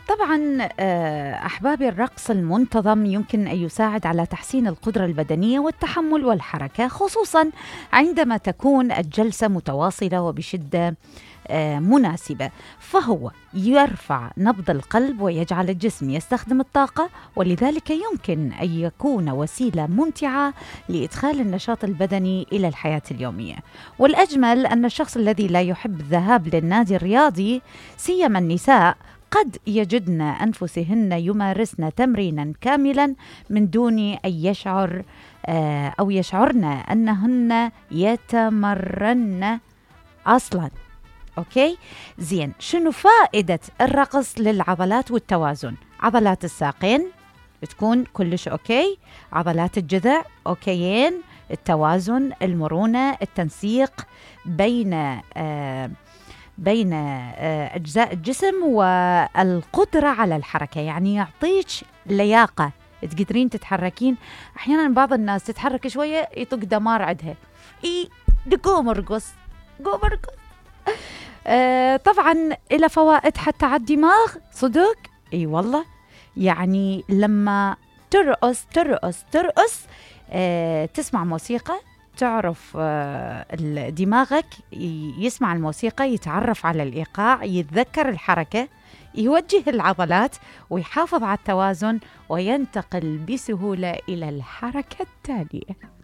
طبعا أحبابي، الرقص المنتظم يمكن أن يساعد على تحسين القدرة البدنية والتحمل والحركة، خصوصا عندما تكون الجلسة متواصلة وبشدة مناسبة. فهو يرفع نبض القلب ويجعل الجسم يستخدم الطاقة، ولذلك يمكن أن يكون وسيلة ممتعة لإدخال النشاط البدني إلى الحياة اليومية. والأجمل أن الشخص الذي لا يحب الذهاب للنادي الرياضي، سيما النساء، قد يجدن أنفسهن يمارسن تمرينا كاملا من دون أن يشعرن أنهن يتمرن أصلا. أوكي؟ زين، شنو فائدة الرقص للعضلات والتوازن؟ عضلات الساقين تكون كلش أوكي، عضلات الجذع أوكيين، التوازن، المرونة، التنسيق بين أجزاء الجسم والقدرة على الحركة، يعني يعطيك لياقة، تقدرين تتحركين. أحيانا بعض الناس تتحرك شوية يطق دمار عندها، قوم ارقص. طبعا إلى فوائد حتى على الدماغ، صدق والله. يعني لما ترقص تسمع موسيقى، تعرف دماغك يسمع الموسيقى، يتعرف على الإيقاع، يتذكر الحركة، يوجه العضلات ويحافظ على التوازن، وينتقل بسهولة إلى الحركة التالية.